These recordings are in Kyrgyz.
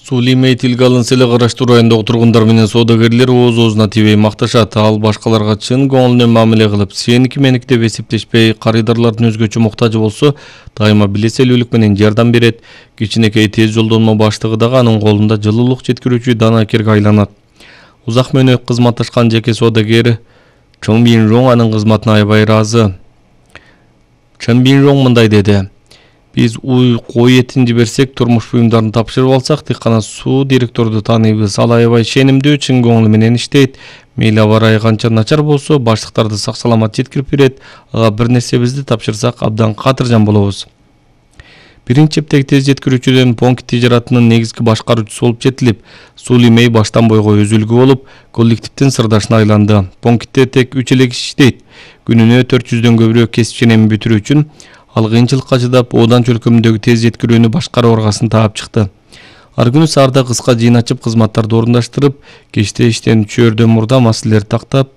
Суули мей тилге алынса эле караштуу райондогу тургундар менен соодагерлер ooз-оозуна тийбей макташат. Ал башкаларга чын көңүлүнөн мамиле кылып, сеники меники деп эсептешпей, карыдарлардын өзгөчө муктажы болсо, дайыма билеселүүлүк менен жардам берет. Кичинекей тез жолдонмо баштыгы дагы анын колунда жылуулук жеткирүүчү данакерге айланат. Узак мөөнөт кызматташкан жеке соодагер Чон Бин Рong анын кызматына аябай ыраазы. Чон Бин Рong мындай деди: Биз кой этин жиберсек, турмуш буюмдарын тапшырып алсак, тик гана суу директорду тааныйбыз. Ал аябай ченемдүү, чын көңүл менен иштейт. Мейли аба ырайы канча начар болсо, баштыктарды сак-саламат жеткирип берет. Ага бир нерсебизди тапшырсак, абдан катыржан болобуз. Биринчи чептеги тез жеткирүүчүдөн Понкит тижаратынын негизги башкаруучусу болуп жетилип, Суули мей баштан бойго өзүлгү болуп, коллективдин сырдашына айланды. Понкитте тек 3 эле киши иштейт. Күнүнө 400дөн көбүрөөк кесип ченемин бүтүрүү үчүн ал кыйынчылыкка чыдап, Одан чөлкөмүндөгү тез жеткирүүнү башкаруу аргасын таап чыкты. Ар күнү саарда кыска жыйын ачып, кызматтарды орундаштырып, кечте иштен түшөөрдөн мурда маселелерди тактап,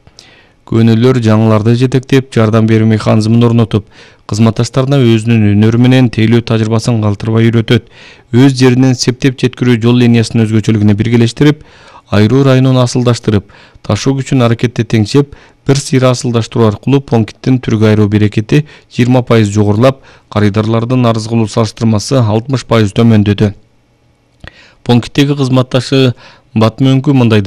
көөнөлөр жаңыларды жетектеп, жардам берүү механизмин орнотуп, кызматташтарына өзүнүн өнөрү менен тейлөө тажрыйбасын калтырбай үйрөтөт. Өз жеринен септеп жеткирүү жол линиясынын өзгөчөлүгүнө биргелештирип, айруу районун асылдаштырып, ташуу күчүн аракетте теңшеп, бир сыйра асылдаштыруу аркылуу Понкиттин түргө айыруу берекети 20% жогорулап, карыдарлардын арыз кылуу салыштырмасы 60% төмөндөдү. Понкиттеги кызматташы Батмөнкү мындай деди: